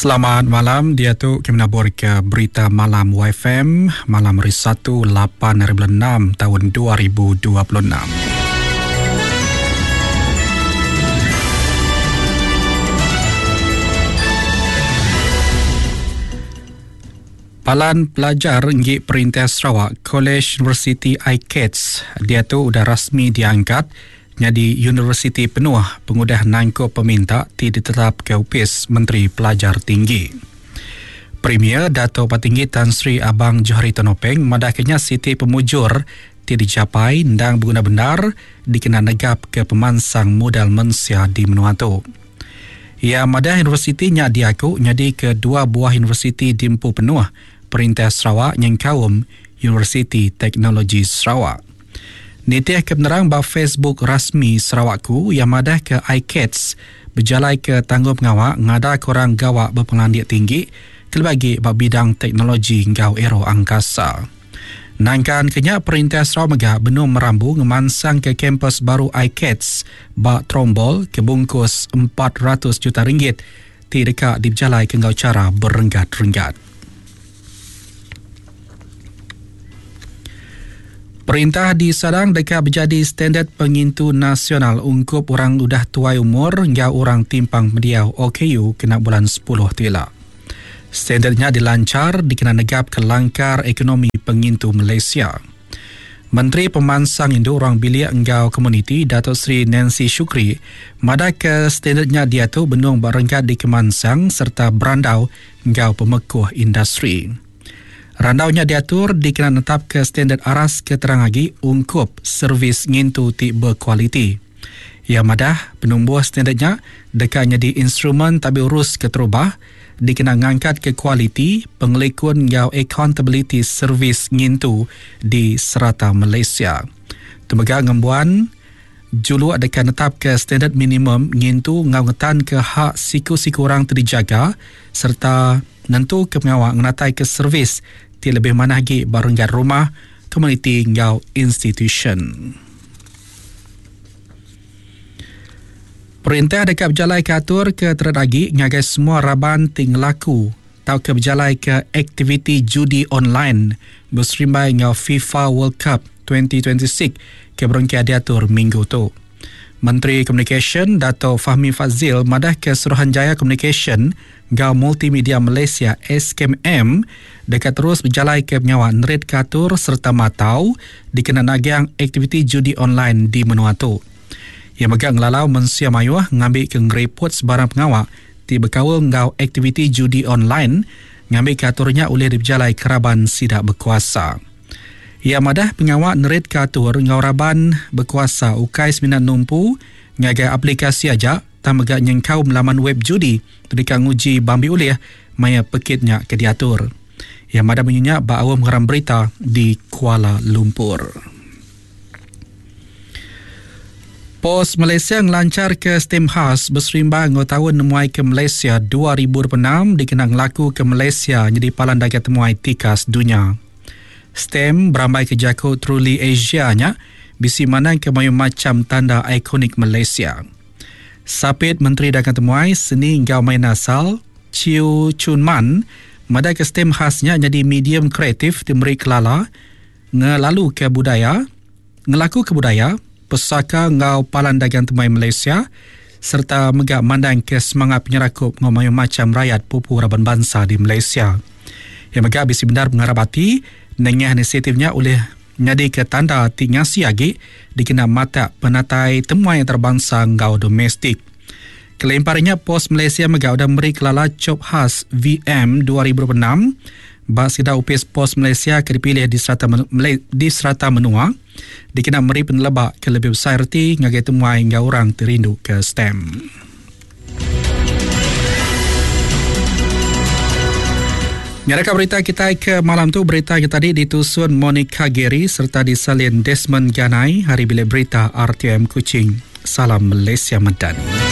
Selamat malam, diatu kami naburka berita malam YFM malam hari Satu 8 hari bulan 6 tahun 2026. Palan pelajar enggi Perintah Sarawak, Kolej Universiti ICATS diatu udah rasmi diangkat nyadi universiti penuh pengudah nangkup peminta ti ditetapka Opis Menteri Pelajar Tinggi. Premier Datuk Patinggi Tan Sri Abang Johari Tun Openg madahka nya siti pemujur ti dijapai endang beguna bendar dikena negapka pemansang modal mensia di menua tu. Iya madah universiti nya diaku nyadika dua buah universiti diempu penuh Perintah Sarawak nyengkaum Universiti Teknologi Sarawak. Nitihka penerang ba Facebook rasmi Sarawakku, iya madahka ICATS bejalaika tanggungpengawa ngadaka orang gawa bepengelandik tinggi kelebih agi ba bidang teknologi enggau aeroangkasa. Nangkan ke nya, Perintah Sarawak mega benung merambu ngemansangka kampus baru ICATS ba Trombol ke bungkus 400 juta ringgit ti deka dipejalaika enggau chara berenggat-renggat. Perintah di Sadang deka bejadi standard pengintu nasional ungkup orang udah tuai umur enggau orang timpang pendiau OKU kena bulan sepuluh tu ila. Standard nya dilanchar dikena negapka langkar ekonomi pengintu Malaysia. Menteri Pemansang Indu Ruang Bilik enggau Komuniti Datuk Seri Nancy Shukri madahka standard nya diatu benung ba renggat dikemansang sereta berandau enggau pemekuh industri. Randau nya diatur dikena netapka standard aras ke terang agi ungkup servis ngintu ti bekualiti. Iya madah, penumbuh standard nya deka nyadi instrumen tabi urus keterubah dikena ngangkatka kualiti, pengelikun enggau akauntabiliti servis ngintu di serata Malaysia. Tu mega ngembuan juluk deka netapka standard minimum ngintu enggau ngetanka hak siku-siku orang ti dijaga sereta nentuka pengawa ngenataika servis ti lebih manah agi ba renggat rumah, komuniti enggau institusyen. Perintah deka bejalaika atur ke terit agi ngagai semua raban ti ngelaku tauka bejalaika aktiviti judi online beserimbai enggau FIFA World Cup 2026 ke berengkah diatur minggu tu. Menteri Komunikasyen Dato Fahmi Fadzil madahka Suruhanjaya Komunikasyen enggau Multimedia Malaysia, SKMM, deka terus bejalaika pengawa neritka atur sereta matau dikena nagang aktiviti judi online di menua tu. Iya mega ngelalau mensia mayuh ngambika ngeriput sebarang pengawa ti bekaul enggau aktiviti judi online ngambika atur nya ulih dipejalaika raban sida bekuasa. Iya madah pengawa neritka atur enggau raban bekuasa ukai semina numpu ngagai aplikasi aja tang mega nyengkaum laman web judi ti deka nguji bambi ulih maya pekit nya ke diatur. Iya madah munyi nya ba aum ngeram berita di Kuala Lumpur. Pos Malaysia ngelancharka stem khas beserimba enggau Taun Nemuai ke Malaysia 2026 dikena ngelakuka Malaysia nyadi palan dagang temuai tikas dunya. Stem berambaika jaku Truly Asia nya bisi mandangka mayuh macham tanda ikonik Malaysia. Sapit Menteri Dagang Temuai, Seni enggau Main Asal, Chiew Chun Man madahka stem khas nya nyadi medium kreatif ti meri kelala ngelaluka budaya, ngelakuka budaya, pesaka enggau palan dagang temuai Malaysia sereta mega mandangka semangat penyerakup enggau mayuh macham rayat pupu raban bansa di Malaysia. Iya mega bisi bendar pengarap ati nengah inisiatif nya ulih nyadika tanda ti ngasi agi dikena matak penatai temuai antarabansa enggau domestik. Kelimpah ari nya, Pos Malaysia mega udah meri kelala chop khas VM 2026 ba sekeda opis Pos Malaysia ke dipilih di serata di serata menua dikena meri peneleba ke lebih besai reti ngagai temuai enggau orang ti rindu ke stem. Nyadaka berita kitai ke malam tu berita ke tadi ditusun Monica Gary serta disalin Desmond Ganai hari bilik berita RTM Kuching. Salam Malaysia Madani.